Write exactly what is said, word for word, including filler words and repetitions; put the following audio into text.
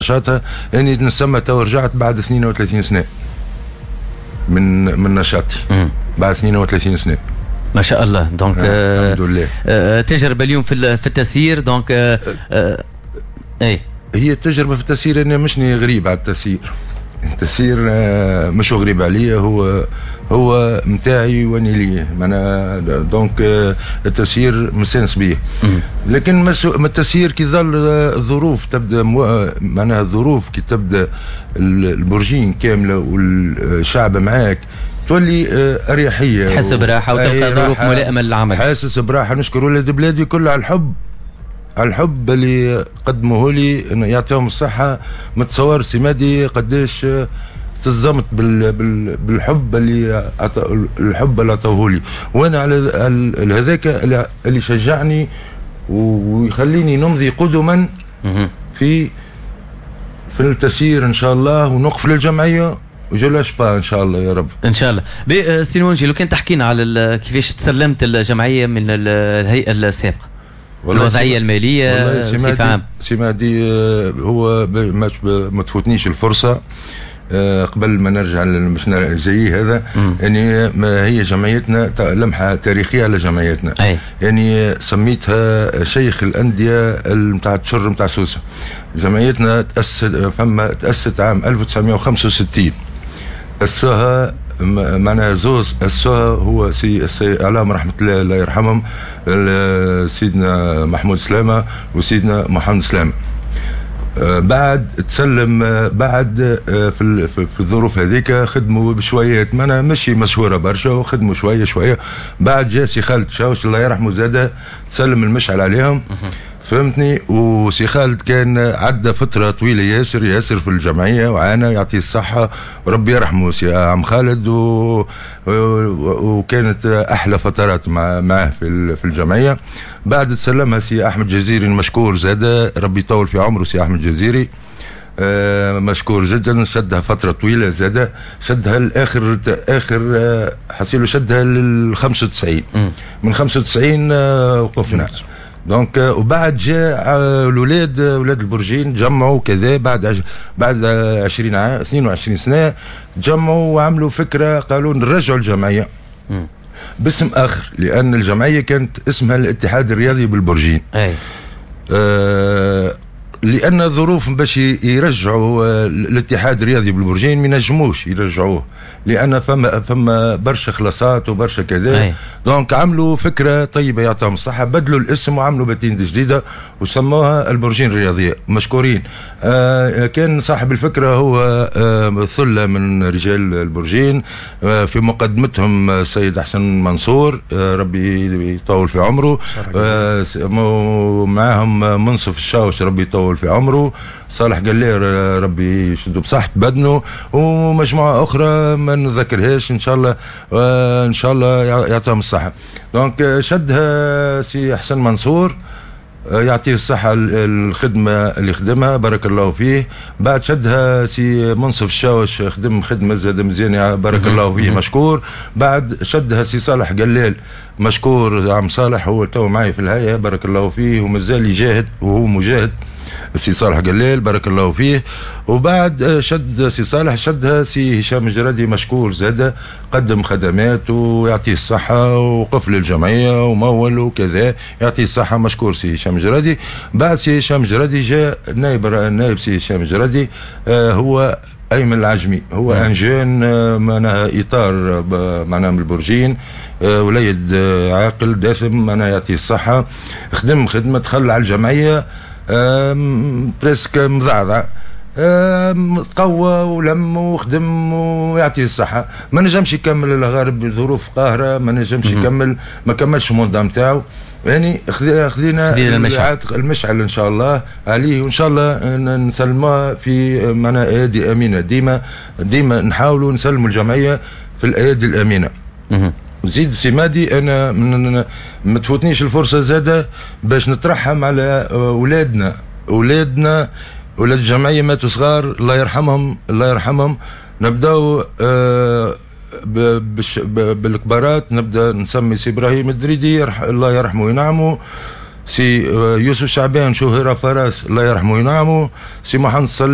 نشاطها. اني نسمى تو رجعت بعد اثنين وثلاثين سنة من من نشاطي، بعد اثنين وثلاثين سنة. ما شاء الله. donc آه الحمد لله. آه تجربه اليوم في في التسيير. donc آه آه اي هي التجربة في التسيير، انا مشني غريب على التسيير. التسيير آه، مش غريب عليا، هو هو متاعي واني ليه معناها. donc آه، التسيير مستانس بيه، لكن ما التسيير كي ظل الظروف تبدا، معناها الظروف كي تبدا البرجين كاملة والشعب معاك تولي آه، اريحيه، تحس براحة وتلقى ظروف ملائمه للعمل. حاسس براحه. نشكر ولاد بلادي كل على الحب، على الحب اللي قدموه لي، يعطيهم الصحه. ما تصور سي مهدي قداش تزمت بال بال بالحب اللي الحب اللي عطوه لي، وانا على هذاك اللي شجعني ويخليني نمضي قدما في في التسيير ان شاء الله، ونوقف للجمعية و je lâche pas ان شاء الله يا رب. ان شاء الله. سي المنجي، لو كان تحكينا على كيفاش تسلمت الجمعية من الهيئة السابقه، الوضعية المالية بصفة عامه. سي مهدي، آه، هو ما, ما تفوتنيش الفرصة آه، قبل ما نرجع مش جاي هذا، يعني ما هي جمعيتنا، لمحه تاريخية على جمعيتنا. أي. يعني سميتها شيخ الاندية نتاع التشر نتاع سوسه. جمعيتنا تاسست فما تاسست عام ألف وتسعمية وخمسة وستين، اسسها معناها زوز اسسوها، هو سي السي اعلام رحمه الله الله يرحمهم، سيدنا محمود سلامه وسيدنا محمد سلامه. آه، بعد تسلم، آه، بعد آه، في في الظروف هذيك خدموا بشويات، معناها مشي مشهورة برشا، وخدموا شوية شويه. بعد جا سي خالد شاوش الله يرحمه، زاد تسلم المشعل عليهم، فهمتني. وسي خالد كان عدى فترة طويلة ياسر ياسر في الجمعية وعانى، يعطيه الصحة وربي يرحمه سي عم خالد، و... وكانت أحلى فترات مع معه في في الجمعية. بعد تسلمها سي أحمد جزيري المشكور زاد، ربي يطول في عمره سي أحمد جزيري، آه، مشكور جدا، شدها فترة طويلة زاد، شدها لاخر اخر آه، حسيلو شدها لل خمسة وتسعين، من خمسة وتسعين آه، وقفنا. donc وبعد جاء الاولاد، اولاد البرجين جمعوا كذا بعد بعد عشرين عام، اثنين وعشرين سنه، جمعوا وعملوا فكره، قالوا نرجعوا الجمعية باسم اخر، لان الجمعية كانت اسمها الاتحاد الرياضي بالبرجين. اي آه لان ظروف باش يرجعوا الاتحاد الرياضي بالبرجين ما ينجموش يرجعوه، لان فما فما برشا خلاصات وبرشا كذا. donc عملوا فكرة طيبه، يعطيهم الصحه، بدلوا الاسم وعملوا patente جديدة وسموها البرجين الرياضيه، مشكورين. آه كان صاحب الفكرة هو آه ثلة من رجال البرجين، آه في مقدمتهم السيد احسن منصور، آه ربي يطول في عمره، آه معاهم منصف الشاوش ربي يطول في عمره، صالح قلير ربي يشدو بصحة بدنه، ومجموعة أخرى ما نذكرهاش. إن شاء الله آه إن شاء الله يعطيهم الصحة. donc شدها سي حسن منصور، آه، يعطيه الصحة الخدمة اللي خدمها، بارك الله فيه. بعد شدها سي منصف الشاوش، خدم خدمة زاد مزيانة، بارك الله فيه مشكور. بعد شدها سي صالح قلال، مشكور عم صالح، هو تو معي في الهيئة، بارك الله فيه، ومازال يجاهد وهو مجاهد سي صالح قلال، بارك الله فيه. وبعد شد سي صالح شدها سي هشام جرادي، مشكور زاد، قدم خدمات ويعطيه الصحة وقف للجمعية ومول وكذا، يعطيه الصحة مشكور سي هشام جرادي. بعد سي هشام جرادي جاء نائب النائب سي هشام جرادي، آه هو ايمن العجمي، هو un jeune، آه، معناها اطار معناها من البرجين، آه، وليد آه، عاقل دسم، معناها يعطيه الصحه، خدم خدمه، دخل على الجمعية presque مضعضع، تقوى ولم وخدم ويعطيه الصحة. ما نجمش يكمل الغرب بظروف قاهرة، ما نجمش يكمل، ما كملش ال mandat نتاعو. يعني خذينا المشعل. المشعل ان شاء الله عليه، وان شاء الله نسلموها في معنا ايادي امينه. ديما ديما نحاولوا نسلموا الجمعية في الايادي الامينه. زيد سي مهدي، انا من ما تفوتنيش الفرصة زاده باش نترحم على اولادنا، اولادنا اولاد الجمعية ماتوا صغار، الله يرحمهم الله يرحمهم. نبداو آه بالكبارات، نبدا نسمي سي ابراهيم الدريدي الله يرحمه وينعمه، سي آه، يوسف شعبان شهر فراس، الله يرحمه وينعمه، سي محمد صلاح.